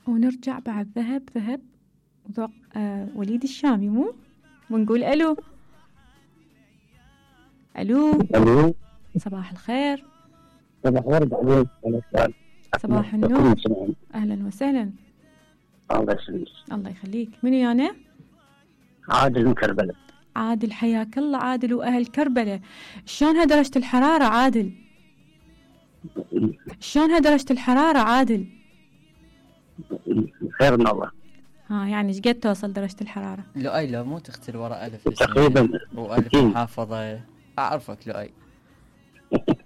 ونرجع بعد ذهب ذهب وذوق وليد الشامي مو؟ ونقول ألو. ألو. ألو. صباح الخير. صباح ورد عليك. صباح النور. أهلا وسهلا. الله يسلمك. الله يخليك. منو يانا؟ عادل من كربلة. عادل حياك الله عادل وأهل كربلة. شلونها درجة الحرارة عادل؟ شلونها درجة الحرارة عادل؟ خير من الله. ها يعني ايش قد توصل درجة الحرارة؟ لؤي لو مو تختل وراء ألف تقريبا وألف محافظة. أعرفك لؤي.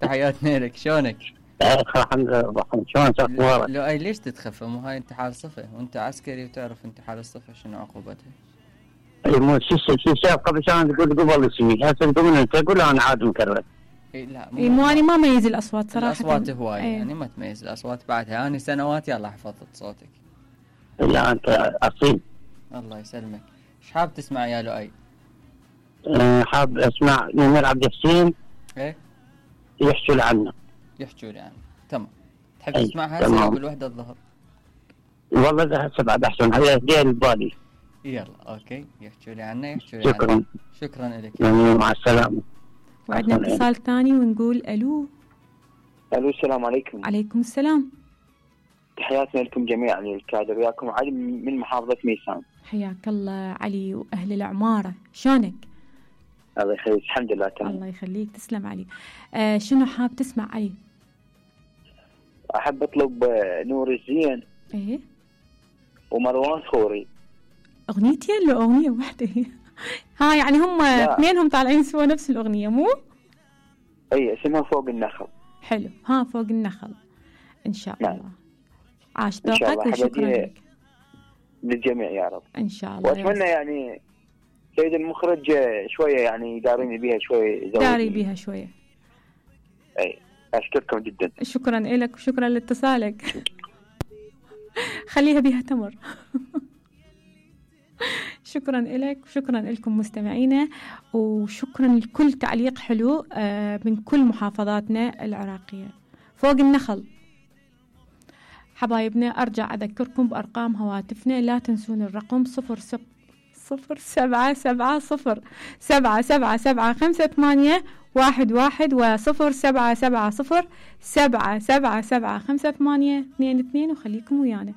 تحياتنا لك. شلونك؟ الحمد لله. شلون صار؟ لؤي ليش تتخفى؟ مو هاي انت حال صفة وانت عسكري وتعرف انت حال الصفة شنو عقوبتها. اي مو شي قبل شان تقول قبل اسمي هسه تقول انت تقول انا عاد مكرر. اي لا مو انا ما ميز الاصوات صراحة. الاصوات هواية يعني ما تميز الاصوات بعدها. انا سنوات يلا حفظت صوتك. لا انت اصيل. الله يسلمك. ايش حاب تسمع يا لؤي؟ حاب اسمع نمر عبد الحسين. ايه يحكوا لي عنه. يحكوا لي عنه. تمام. تحب تسمعها هسه قبل وحدة الظهر؟ والله ده هسه بعد احسن هي دير البالي. يلا اوكي يحكوا لي عنه يحكوا لي شكرا عنه. شكرا لك. مع السلامة. وعندنا اتصال ثاني ونقول الو. الو السلام عليكم. عليكم السلام. تحياتنا لكم جميعا الكادر. وياكم علي من محافظة ميسان. حياك الله علي واهل العمارة. شلونك؟ الله يخليك. الحمد لله تمام. الله يخليك. تسلم علي. شنو حاب تسمع علي؟ احب اطلب نور الزين. ايه ومروان خوري. اغنيتين لو اغنية واحدة هي؟ ها يعني هم اثنينهم طالعين سوا نفس الاغنية مو؟ اي اسمها فوق النخل. حلو. ها فوق النخل ان شاء الله. نعم. عاش ذوقك وشكرا لك. للجميع يا رب ان شاء الله. واتمنى يعني سيد المخرج شوية يعني داريني بيها شوية. داري بيها شوية. اي اشكركم جدا. شكرا لك وشكرا لاتصالك. خليها بيها تمر. شكرا لك وشكرا لكم مستمعينا وشكرا لكل تعليق حلو من كل محافظاتنا العراقية. فوق النخل حبايبنا. أرجع أذكركم بأرقام هواتفنا. لا تنسون الرقم 0770777581 و0770777582 وخليكم ويانا.